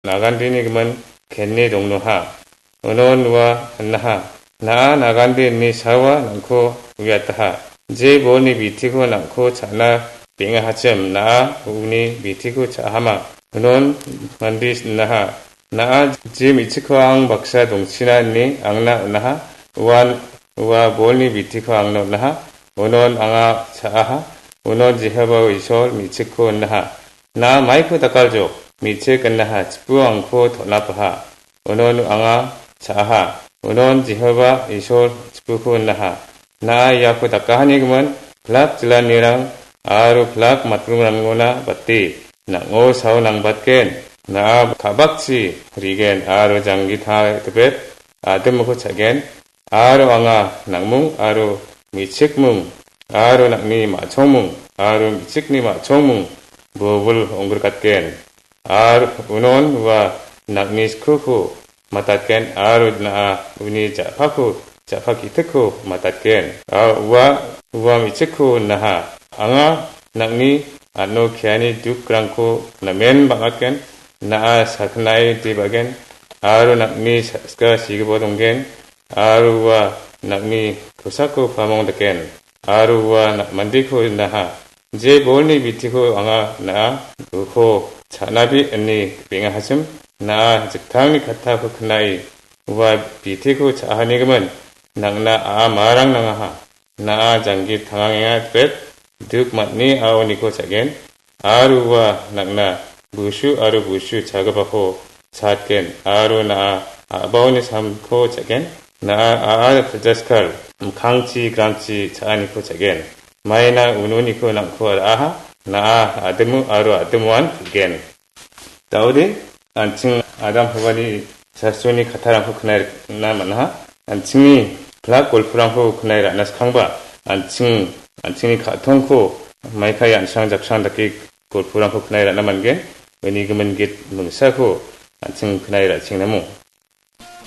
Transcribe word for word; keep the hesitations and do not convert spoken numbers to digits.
nagandini gimin kenne dongnoha. Unon ua hinaha, na·a nagande ine sawa nang·ko uiataha. Je bolni bitiko nang·ko cha·na beng·ahachim, na·a uni bitiko cha·ahama. Unon mande sinaha, na·a je me·chikko ang baksa dongchina ine angna on·aha. Uan ua bolni bitiko angna on·aha. Unon anga cha·aha. Unon Jehovah Isol me·chikko on·aha. Na·a maiko dakaljok, me·chik on·aha, chipu angko ton·apaha. Unon anga cha·aha. Unon Jehovah Isol chipuko on·aha. Na·a iako dakahanigimin, pilak jilanirang aro pilak matbrongrangona bate, nang·o sao nangbatgen. Na·a ka·bakchi rigen aro janggi ta·, tibet, adimiko cha·gen. Aro anga nang·mung aro me·chikmung aro nang·ni ma·chongmung aro me·chikni ma·chongmung bobil ong·grikatgen. Aro unon ua nang·ni skoko matatgen aro na·a uni ja·pako, ja·pa ki·tikko matatgen. Aro ua, ua me·chikko naha, anga nang·ni an·o keani dukrangko namen bang·atgen, na·a sakgnae de ba·gen, aro nang·ni sa-, ska sigibo donggen, aro ua nang·ni kosako pamong daken, aro ua na-, mandeko naha. Je bolni bitiko anga na·a uko cha·nabi ine beng·ahachim, na·a jiktangni kattako knae ua bitiko cha·ahanigimin, nang·na a·a marang nangaha. Na·a janggi tangangenga bet, duk matni a·oniko cha·gen, aro ua nang·na busu aro busu chagipako cha·atgen, aro na·a a·baoni samko cha·gen. Na·a a·a jaskal mikkangchi gramchi cha·aniko cha·gen. Maina ununiko nang·ko ra·aha, na·a adimo aro adimoan pil·gen. Daode, an·ching Adam Hawani sastroni kattarangko knae rikna man·aha. An·chingni pilak golporangko knae ra·na skangba, an·ching, an·chingni ka·tongko maikai an·ching jaksang dake golporangko knae ra·na man·gen. Uni gimin git mingsako an·ching knae ra·cheng namo.